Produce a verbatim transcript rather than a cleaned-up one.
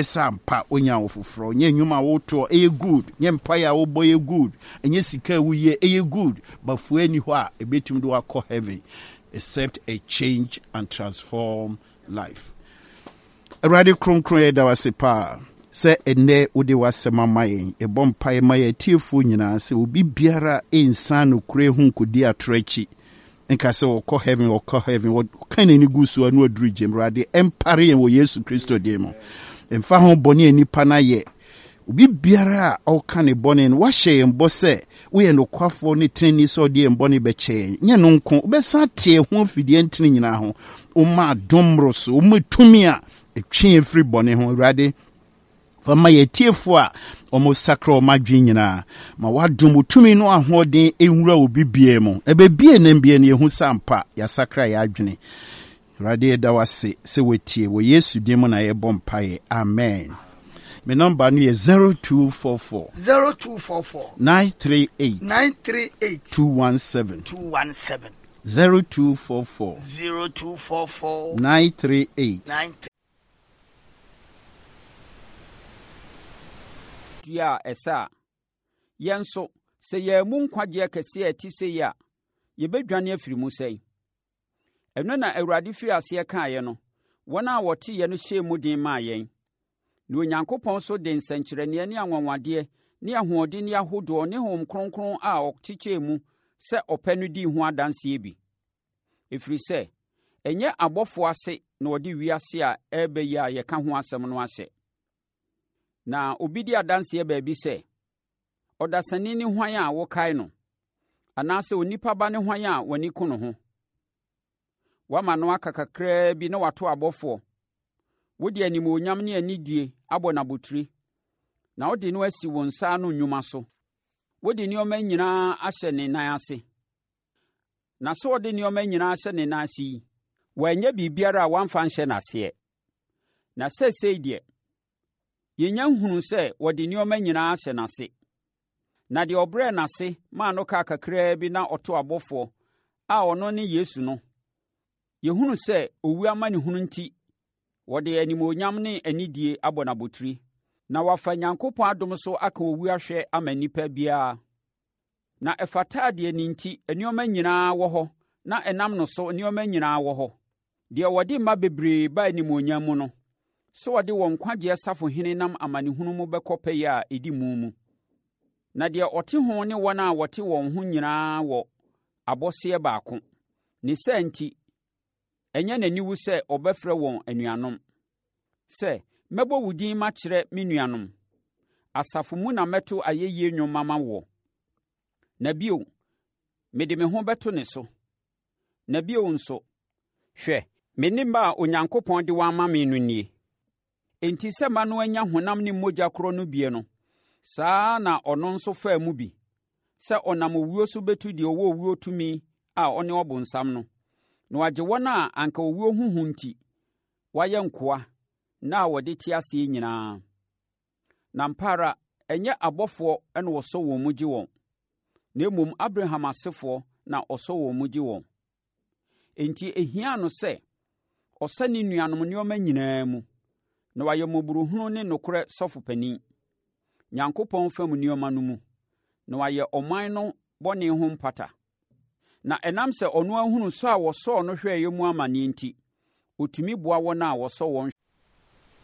Sɛ ampa wonya wo foforɔ, nyɛ nnwuma a wotoɔ ɛyɛ good, nyɛ mpaeɛ a wobɔ yɛ good, ɛnyɛ sika a woyɛ ɛyɛ good, bafoɔ ani hɔ a ɛbɛtumi de wakɔ heaven except a change and transform life. Awurade kronkron, yɛda wo ase paa sɛ ɛnnɛ wode w'asɛm ama yɛn. Yɛbɔ mpaeɛ ma yɛn atiefoɔ nyinaa sɛ obi biara nsan nokorɛ ho nkɔdi atorɔ akyi nka sɛ wɔkɔ heaven, wɔkɔ heaven, wɔka n'ani gu so ano aduru gyem. Awurade, ɛmpare yɛn wɔ Yesu Kristo din mu. Mfa ho bɔne a nipa no ayɛ, obi biara a ɔka ne bɔne no, wahyɛ yɛn bɔ sɛ woyɛ nokwafoɔ ne tenani sɛ ɔde yɛn bɔne bɛkyɛ yɛn. Nyɛ no nko, wobɛsan te yɛn ho afidie ntene nyinaa ho. Woma adom mmoro so, woma tumi a ɛtwe yɛn firi bɔne ho. Awurade, fa ma yɛn atiefoɔ a wɔn sakra wɔn adwene nyinaa, ma wadom wo tumi no ahoɔden nwura obi biara mu. Ɛbɛbie nam bie no, yɛhu sɛ ampa yɛasakra yɛn adwene. Awurade, yɛda wo ase sɛ watie. Wɔ Yesu din mu na yɛbɔ mpaeɛ, amen. Me nɔmba no yɛ zero two four four zero two four four nine three eight nine three eight two one seven. two one seven. zero two four four zero two four four nine three eight nine dua a ɛsɛ a yɛn nso, sɛ yɛn mu nkwagyeɛ kɛseɛ a ɛte sɛ yi a, yɛbɛdwane afiri mu sɛn? Ɛno na Awurade firi aseɛ kaeɛ no, wɔn a wɔteeɛ no hyɛɛ mu den maa yɛn. Na Onyankopɔn nso de nsɛnkyerɛnneɛ ne anwanwadeɛ ne ahoɔden ahodoɔ ne Honhom Kronkron a ɔkyekyɛɛ mu sɛ ɔpɛ no dii ho adanseɛ bi. Ɛfiri sɛ, ɛnyɛ abɔfoɔ ase na ɔde wiase a ɛreba yi a yɛka ho asɛm no ahyɛ. Na obi di adanseɛ baabi sɛ, ɔdasani ne hwan a wokae no? Anaasɛ onipa ba ne hwan a w'ani ko ne ho? Woama no aka kakraa bi na wato abɔfoɔ. Wode animuonyam ne anidie abɔ no abotire, na wode no asi wo nsa ano nnwuma so. Wode nneɛma nyinaa ahyɛ ne nan ase. Na sɛ ɔde nneɛma nyinaa ahyɛ ne nan ase yi, wanyɛ biribiara a wamfa nhyɛ n'aseɛ. Na seesei deɛ, yɛnya nhunu sɛ wɔde nneɛma nyinaa ahyɛ n'ase. Na deɛ ɔbrɛɛ n'ase maa no kaa kakraa bi na ɔto abɔfoɔ a ɔno ne Yesu no, yɛhunu sɛ owu amanehunu nti, wɔde animuonyam ne anidie abɔ no abotire, na wafa Nyankopɔn adom so aka owu ahwɛ ama nnipa biara. Na ɛfata deɛ ne nti nneɛma nyinaa wɔ hɔ na ɛnam no so nneɛma nyinaa wɔ hɔ. Deɛ wɔde mma bebree ba animuonyam mu no, sɛ wɔde wɔn nkwagyeɛ safohene nam amanehunu mu bɛkɔ pɛyɛ a ɛdi mu mu. Na deɛ ɔte ho ne wɔn a wɔte wɔn ho nyinaa wɔ abɔseɛ baako. Ne saa nti, ɛnyɛ n'aniwu sɛ ɔbɛfrɛ wɔn anuanom. Sɛ, mɛbɔ wo din makyerɛ me nuanom. Asafo mu na mɛto ayɛyie nnwom ama woɔ. Na bio, mede me ho bɛto ne so. Na bio nso, hwɛ, me ne mma a Onyankopɔn de wɔn ama me no nie. Enti sɛ mma no anya honam ne mogya korɔ no bie no, saa ara na ɔno nso faa mu bi, sɛ ɔnam owuo so bɛtu deɛ ɔwɔ owuo tumi a ɔne ɔbonsam no, na wagye wɔn a anka owuo ho hu nti, wɔayɛ nkoa nna a wɔde te aseɛ nyinaa. Na ampa ara, ɛnyɛ abɔfoɔ na wɔsɔ wɔn mu gye wɔn, na mmom Abraham asefoɔ na ɔsɔ wɔn mu gye wɔn. Enti ehia no sɛ ɔsɛ ne nuanom nneɛma nyinaa mu, na wayɛ mmɔborɔhunu ne nokorɛ sɔfopanin, Nyankopɔn fam nneɛma no mu, na wayɛ ɔman no bɔne ho mpata. Na ɛnam sɛ ɔno ahunu sɔ a wɔsɔɔ no hwɛeɛ mu amanneɛ nti, ɔtumi boa wɔn a wɔsɔ wɔn